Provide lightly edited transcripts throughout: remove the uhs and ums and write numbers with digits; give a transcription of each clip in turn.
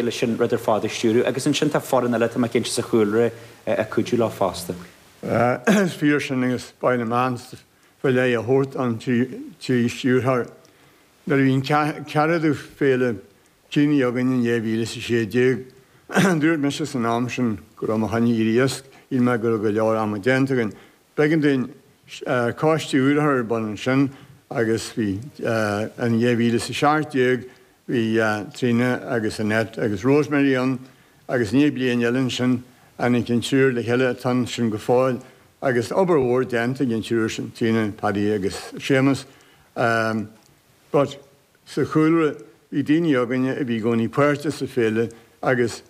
Leis an rud ar fad a stiúradh agus ansin tá foireann eile, tá mé cinnte, sa chúlra ag cuidiú leo fosta. Is fíor sin agus ba mhaith liom aitheantas faoi leith a thabhairt don trí stiúrthóir. Nuair a bhí an ceathramhadú féile críochnaithe againn in 2016, dúirt mise san am sin go raibh mé chun éirí as, shíl mé go raibh go leor ama déanta againn. B'éigean dúinn coiste úr a chur ar bun ansin agus bhí in 2017 Bhí Tríona agus Annette agus Rosemary ann agus i ndiaidh bliain eile ansin tháinig an triúr le chéile atá ansin go fóill agus obair mhór déanta ag an triúr sin, Tríona, Paddy agus Séamus. But sa chúlra bhí daoine againne a bhí i gcónaí páirteach sa féile agus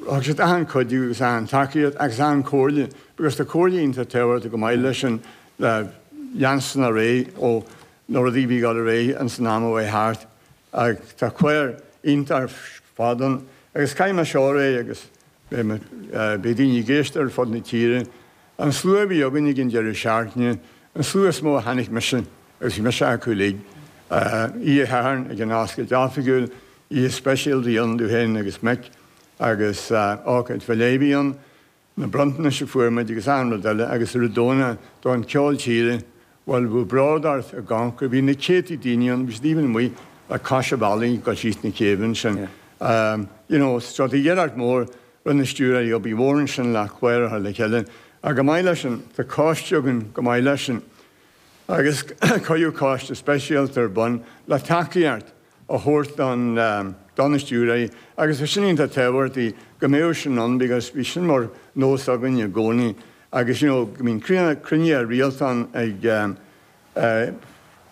Thug siad achan cuidiú agus achan tacaíocht agus achan comhairle because tá comhairle iontach tábhachtach go maith leis sin le leanstan ar aghaidh ó na rudaí a bhí ag dul ar aghaidh ins an am a chuaigh thart. Ach tá clár iontach ar fad ann agus caithfidh mé seo a rá agus beidh daoine ag éisteacht ar fud na tíre, an slua a bhí againn ag an deireadh seachtaine, an slua is mó a chonaic mise agus bhí mise acu uilig, oíche Shathairn ag an oscailt oifigiúil, Oíche speisialta a bhí ann domh féin agus Mick agus ócáid faoi leith a bhí ann, na bronntanais a fuair muid agus achan rud eile agus ar an Domhnach don ceol tíre, bhuel bheadh bród ort i gConchúr, bhí na céadtaí daoine ann, bhí siad even amuigh le cois an bhealaigh ag dul síos na céibhe ansin. You know, so tá iarracht mhór, rinne na stiúrthóirí obair mhór ansin le clár a chur le chéile ach go maith leis sin, tá coiste againn go maith leis sin agus cuireadh coiste speisialta ar bun le tacaíocht a thabhairt don do na stiúrthóirí agus tá sin iontach tábhachtach go mbeadh sin ann because bhí sin mar nós againn i gcónaí agus you know go mbíonn cruinnithe rialta ann ag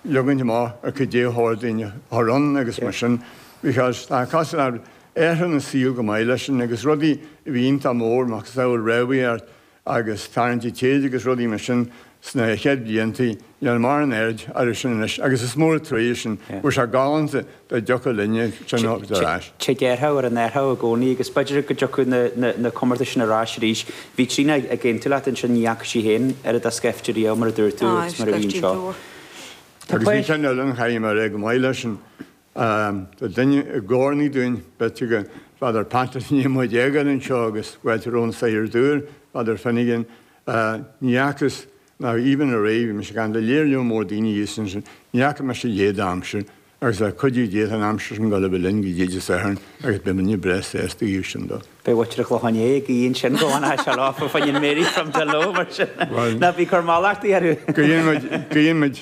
leagaint amach ar cad é a chóir dúinn a chur ann agus mar sin because tá cosúil le athraíonn an saol go maith leis sin agus rudaí a bhí iontach mór macasamhail rámhaíocht agus tarraingt an téid agus rudaí mar sin sna chéad bhlianta, níl mórán aird orthu sin anois agus is mór an truaighe sin, bheadh sé galánta dá dtiocfadh linne sin a thabhairt ar ais. Tig athrú ar an athrú i gcónaí agus b'fhéidir go dtiocfadh na comórtais sin ar ais arís. Bhí Tríona ag aontú leat ansin, ní fhaca sí féin oiread de scaifte riamh mar a dúirt tú agus mar a bhí anseo. Agus bhí ceann eile ann chaithfidh mé a rá go maith leis sin. Tá duine i gcónaí dúinn, b'fhéidir go Father Patrick i ndiaidh muid a fhágáil anseo agus fáilte romhainn saothar dúr, Father Finnegan, ní fhacthas ná even aré, bhí mise ag caint le léar lear mór daoine thíos ansin, ní fhaca mise a leithéid d'aimsir agus le cuidiú Dé tá an aimsir sin ag dul a bheith linn go dtí Dé Sathairn agus beidh muidne breá sásta dhíobh sin dó. Beidh muintir an Chlocháin Léith ag guí ansin go bhfanfaidh sé leo fá choinne Mary from Tullow mar sin. Ná bí ag cur mallachtaí orthu. Guíonn muid, guíonn muid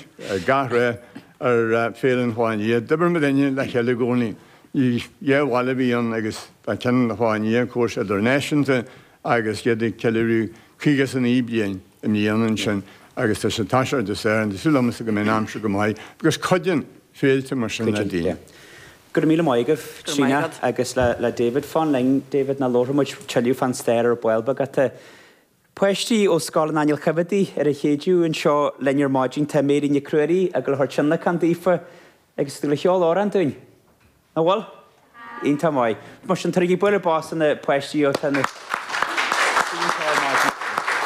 gach rath ar Féile an Chlocháin Liath. D'oibir muidinne le chéile i gcónaí. Ní dhá bhaile a bhí ann agus tá ceann an Chlocháin Liath, córas idirnáisiúnta agus iad ag ceiliúradh 59 bliain i mbliana ansin agus tá sé toiseacht Dé Sathairn. Tá súil agamsa go mbeidh an aimsir go maith agus cuidíonn féilte mar sin le daoine. Go raibh míle maith agaibh, Tríona agus le David. Fan linn, David, nó labharfaidh muid tuilleadh fán stair ar ball beag. Tá Páistí ó Scoil an Aingil Choimheadaigh ar an Chéideadh anseo linn ar maidin. Tá Mary Nic Ruairí ag dul a chur tionlacan daofa agus ag dul a cheol amhrán dúinn. Nach bhfuil? Iontach maith. Mar sin, tabhairigí bualadh bos do na páistí ó tá na.